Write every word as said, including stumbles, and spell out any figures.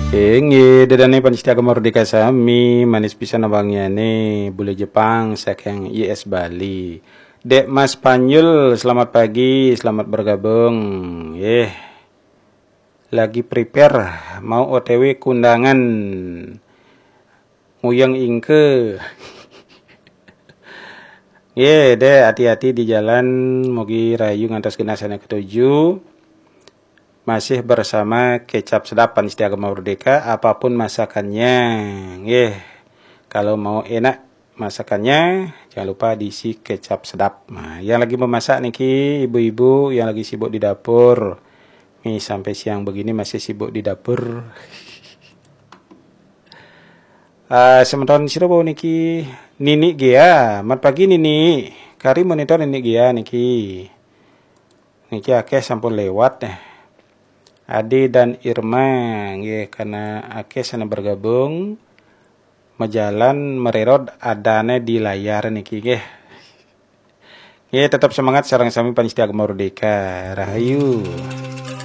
Inggih, ida dané pamiarsa Gema Merdeka sami, manis pisan wangiané, bule Jepang saking I S Bali. Dek Mas Panjul, selamat pagi, selamat bergabung. Yeh, lagi prepare, mau O T W kundangan. Nguyang ingke. Yeh, dek, hati-hati di jalan, mugi rahayu ngantos genah sané ketuju. Masih bersama Kecap Sedap, pamiarsa Gema Merdeka, apapun masakannya, nggih. Kalau mau enak masakannya, jangan lupa diisi kecap sedap. Nah, yang lagi memasak niki ibu-ibu yang lagi sibuk di dapur. Nih, sampai siang begini masih sibuk di dapur. Ah, semeton sira wau niki, Nini Gea, mat pagi Nini. Kari monitor Nini Gea niki. Niki akeh sampun lewat, eh. Ade dan Irma, nggih, karena akeh sané bergabung, majalan mererot adané di layar niki, nggih. Nggih, tetap semangat sareng sami pamiarsa Gema Merdeka. Rahayu.